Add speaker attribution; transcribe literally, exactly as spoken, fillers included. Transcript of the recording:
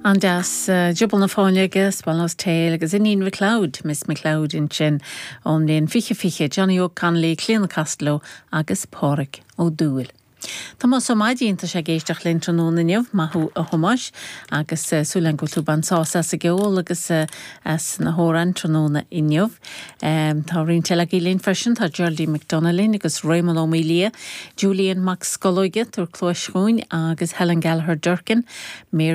Speaker 1: An-deas Giobal na Fáinleoige, Swallow's Tail agus Iníon McLeod, Miss McLeod ansin ón mbliain fiche fiche, Johnny Óg Connolly, Clíona Costello agus Pádraig Ó Dúill. Tomás Ó Maidín tá sé ag éisteacht linn tráthnóna inniu maith thú a Thomáis agus súil agam go bhfuil tú ag baint sásamh as an gceol agus as na hamhráin tráthnóna inniu. Tá roinnt eile agaibh linn freisin tá Geraldine McDonagh linn agus Raymond Ó Mília, Julian Mac Scolóige tar cluas chugainn agus Helen Gallagher Durkin, Mary